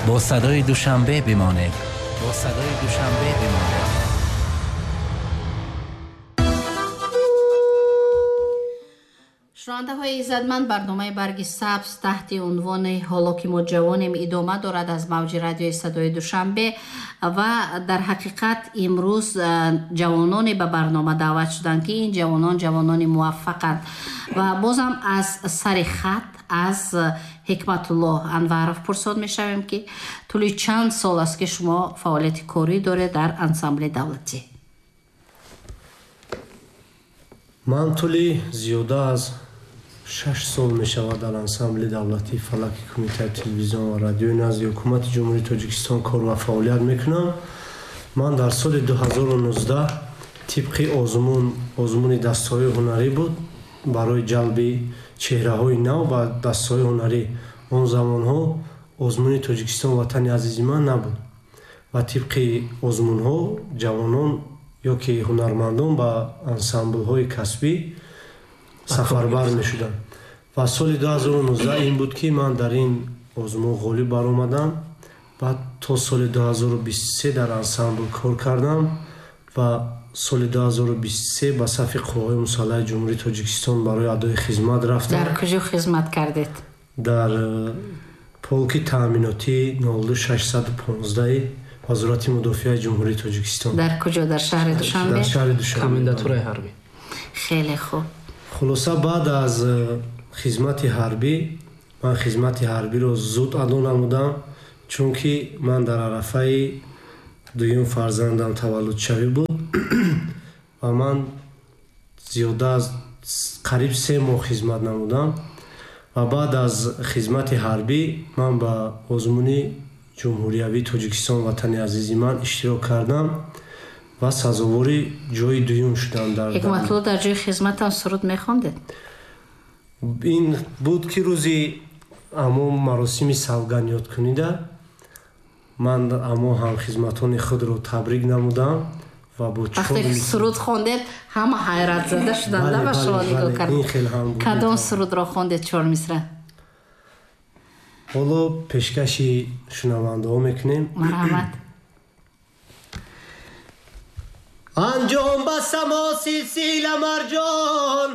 Бо садои Душанбе бимонед, бо садои Душанбе бимонед. Шунавандаҳои иззатманд, барномаи Барги сабз таҳти унвони «Ҳоло ки мо ҷавонем» идома дорад аз мавҷи радиои садои Душанбе ва дар ҳақиқат имрӯз ҷавононе ба барнома даъват шуданд, ки ин ҷавонон ҷавонони муваффақанд. Ва бозам аз сари хат аз Ҳикматуллоҳ Анваров пурсод мешавем, ки тӯли чанд сол аст, ки шумо фаъолияти корӣ доред дар ансамбли давлатӣ? Ман тӯли зиёда аз 6 сол мешавад дар ансамбли давлатии фалаки Кумитаи телевизион ва радиои назди Ҳукумати Ҷумҳурии Тоҷикистон кор ва фаъолият мекунам. Ман дар соли 2019 тибқи озмун, озмуни дастаҳои ҳунарӣ буд барои ҷалби чеҳраҳои нав ба дастаҳои ҳунарӣ. Он замонҳо озмуни Тоҷикистон ватани азизи ман набуд ва тибқи озмунҳо ҷавонон ё ки ҳунармандон ба ансамблҳои касбӣ сафарбар мешуданд. Ва соли 2019 ин буд, ки ман дар ин озмун ғолиб баромадам. Баъд то соли 2023 дар ансамбл кор кардам ва соли 2023 ба сафи Қувваҳои мусаллаҳи Ҷумҳурии Тоҷикистон барои адои хизмат рафтам. Дар куҷо хизмат кардед? Дар полки таъминотии 02615 Вазорати мудофиаи Ҷумҳурии Тоҷикистон. Дар куҷо? Дар шаҳри Душанбе? Дар шаҳри Душанбе. Комендатураи ҳарбӣ. Хеле хуб. Хулоса, баъд аз хизмати ҳарбӣ ман хизмати ҳарбиро зуд адо намудам, чунки ман дар арафаи дуюм фарзандам таваллудшавӣ буд ва ман зиёда аз қариб 3 моҳ хизмат намудам. Ва баъд аз хизмати ҳарбӣ ман ба озмуни ҷумҳуриявии Тоҷикистон ватани азизи ман иштирок кардам ва сазовори ҷои дуюм шудам. Дар Ҳикматулло, дар ҷои хизматам суруд мехондед? Ин буд, ки рӯзи амо маросими савгандёдкунида ман амо ҳамхизматони худро табрик намудам ва бо вақте ки суруд хондед, ҳама ҳайратзада шуданд ва шумо нигоҳ кард. Ин хел ҳам буд. Кадом сурудро хондед, чор мисра? Ҳоло пешкаши шунавандаҳо мекунем. Марҳамат. Анҷом ба само силсила марҷон.